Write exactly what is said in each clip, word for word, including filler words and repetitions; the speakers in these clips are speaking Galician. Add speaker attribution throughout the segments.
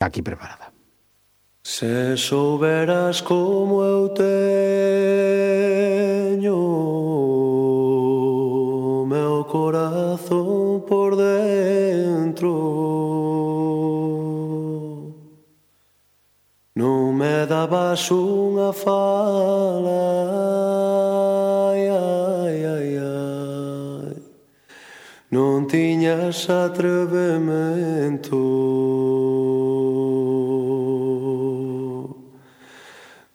Speaker 1: aquí preparada.
Speaker 2: Se souberas como eu teño meu corazón por dentro, non me dabas unha fala, ai, ai, ai, ai, non tiñas atrevemento,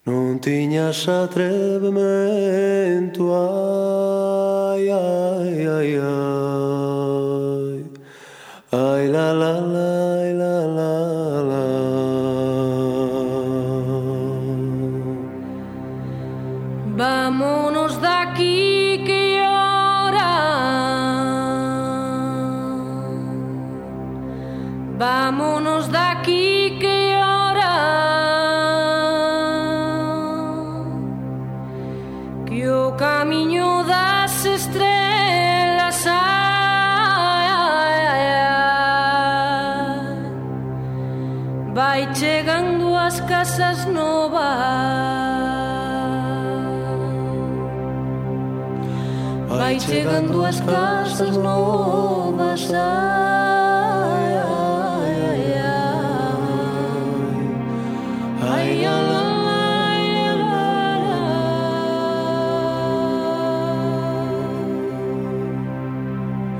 Speaker 2: non tiñas atrevemento, ai, ai, ai, ai, ai, la, la, la, la, la, la.
Speaker 3: Vámonos de aquí que llora, vámonos de aquí que llora, que o camiño das estrelas, ai, ai, ai, vai chegando as casas novas, vai chegando as casas novas, ai, ai, ai, ai, ai, ai,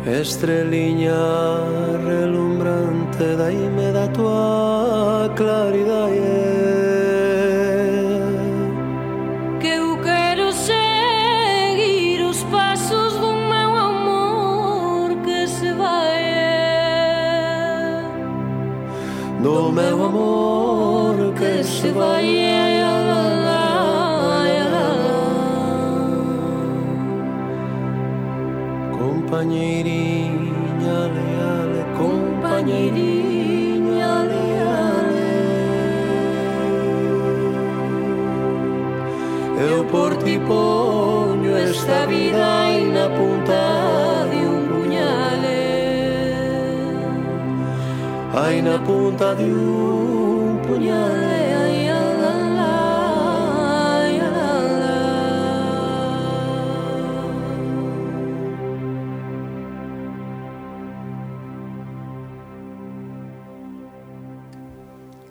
Speaker 3: ai. Estreliña relumbrante, daime da tua claridade, do meu amor que se vai, ai, ai, ai, ai. Compañeirinha leale, compañeirinha leale, eu por ti poño esta vida aí na punta de un puñale, ai na punta de un puñale, ai, ai, ai, ai,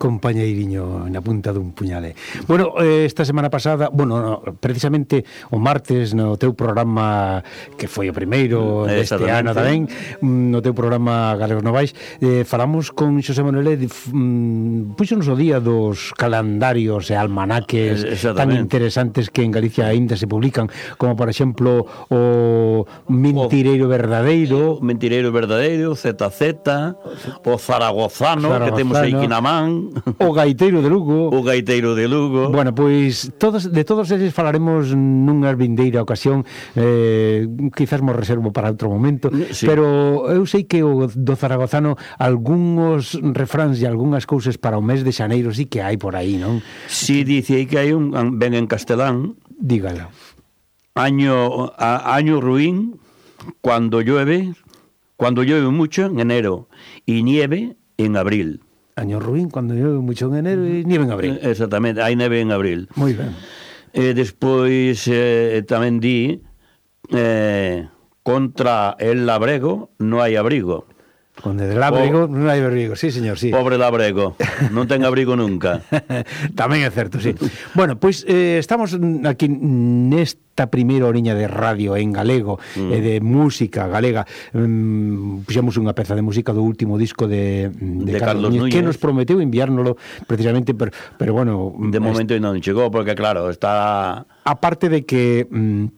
Speaker 1: Compañeiriño na punta dun puñale. Bueno, eh, esta semana pasada, bueno, no, precisamente o martes no teu programa, que foi o primeiro deste ano tamén, no teu programa Galegos Novais, eh, falamos con Xosé Manuel e mm, puxonos o día dos calendarios e almanaques tan interesantes que en Galicia aínda se publican, como por exemplo o Mentireiro Verdadeiro,
Speaker 4: o Mentireiro Verdadeiro, Z Z, o Zaragozano, Zaragozano, que temos aí que na man,
Speaker 1: o Gaiteiro de Lugo,
Speaker 4: o Gaiteiro de Lugo.
Speaker 1: Bueno, pois todos, de todos eles falaremos nunha vindeira ocasión, eh, quizás mo reservo para outro momento, sí. Pero eu sei que o do Zaragozano algúns refráns e algunhas cousas para o mes de xaneiro sí que hai por aí, non?
Speaker 4: Si, sí, dice aí que hai un, ben en castelán,
Speaker 1: dígalo.
Speaker 4: Año, a, año ruín, cuando llueve, cuando llueve mucho en enero y nieve en abril.
Speaker 1: Año ruín, cuando llueve mucho en enero e nieve en abril.
Speaker 4: Exactamente, hai neve en abril.
Speaker 1: Moi ben.
Speaker 4: E despois eh, tamén di eh, contra el labrego non hai abrigo.
Speaker 1: Contra el labrego non hai abrigo, sí, señor, sí.
Speaker 4: Pobre labrego, non ten abrigo nunca.
Speaker 1: Tamén é certo, sí. Bueno, pois eh, estamos aquí nesta primeira oriña de radio en galego, mm. e de música galega. Um, puxemos unha peza de música do último disco de, de, de Carlos, Carlos Núñez, que nos prometeu enviárnoslo precisamente, pero, pero bueno...
Speaker 4: De momento est... non chegou, porque claro, está...
Speaker 1: Aparte de que... Um,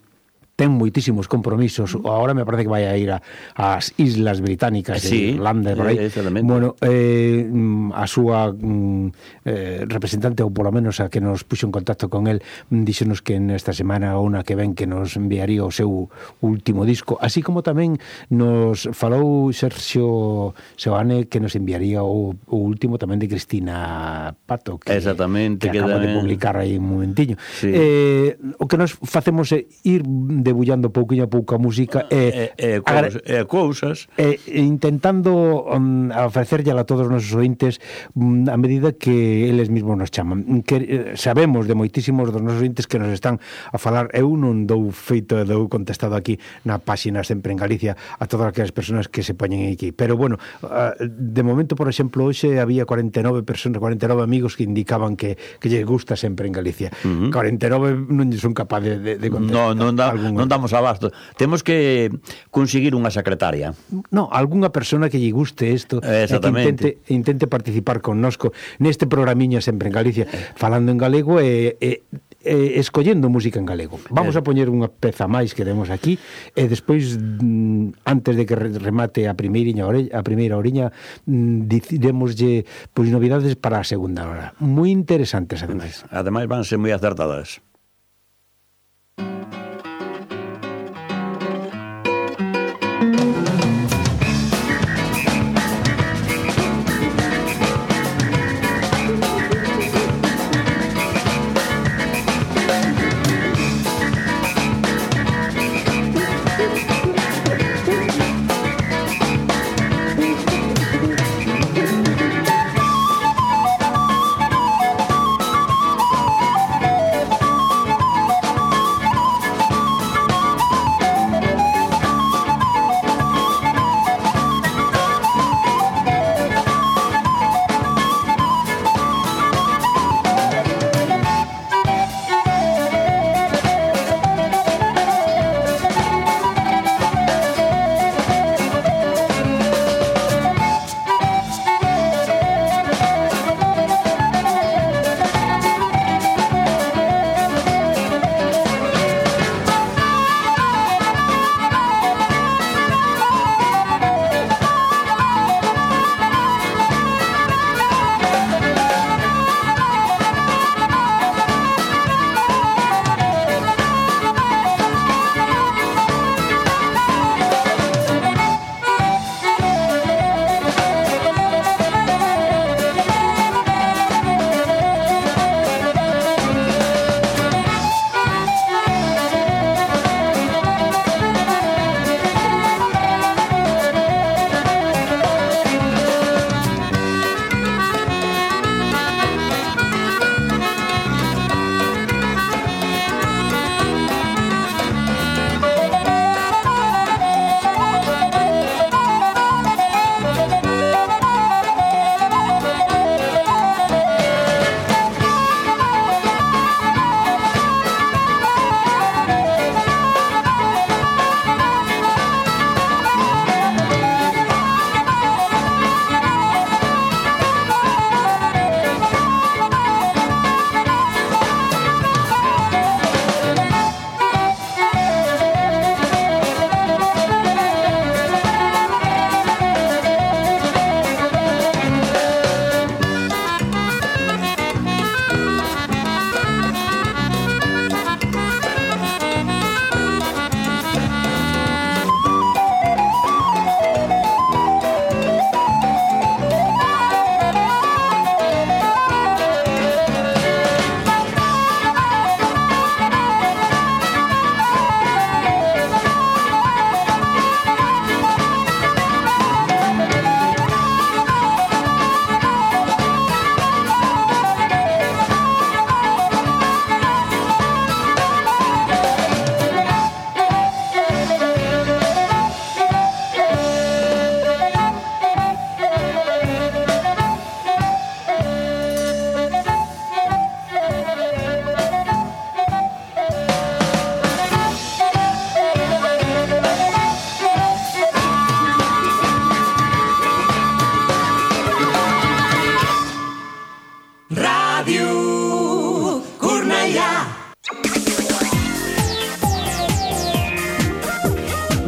Speaker 1: ten moitísimos compromisos. Agora me parece que vai a ir ás Islas Británicas,
Speaker 4: sí,
Speaker 1: de Irlanda, por aí. Bueno, eh, a súa eh, representante, ou polo menos a que nos puxo en contacto con el, díxenos que nesta semana ou na que ven que nos enviaría o seu último disco, así como tamén nos falou Sergio Seoane que nos enviaría o, o último tamén de Cristina Pato, que,
Speaker 4: exactamente,
Speaker 1: que acaba
Speaker 4: que
Speaker 1: de publicar aí un momentiño.
Speaker 4: Sí.
Speaker 1: Eh, o que nos facemos é ir debullando pouquinho a pouco a música e,
Speaker 4: e, e, cousas, e cousas
Speaker 1: e, e intentando um, ofrecerlle a todos os nosos ointes um, a medida que eles mesmos nos chaman, que eh, sabemos de moitísimos dos nosos ointes que nos están a falar. Eu non dou feito, dou contestado aquí na páxina Sempre en Galicia a todas aquelas persoas que se poñen aquí, pero bueno, de momento, por exemplo, hoxe había cuarenta e nove persoas, cuarenta e nove amigos que indicaban que, que lles gusta Sempre en Galicia. Uh-huh. cuarenta e nove non son capaz de, de, de contestar.
Speaker 4: No, non, da, non damos abasto. Temos que conseguir unha secretaria.
Speaker 1: No, algunha persona que lle guste isto, e que intente, intente participar connosco neste programiña Sempre en Galicia, falando en galego e, e Eh, escollendo música en galego. Vamos a poñer unha peza máis que temos aquí e despois, mm, antes de que remate a primeira oriña, a primeira oriña, mm, diremoslle pois novidades para a segunda hora. Moi interesantes, ademais.
Speaker 4: Ademais van ser moi acertadas.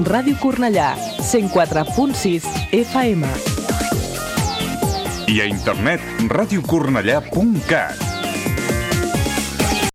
Speaker 5: Ràdio Cornellà, cent quatre punt sis F M.
Speaker 6: I a internet, radiocornellà punt cat.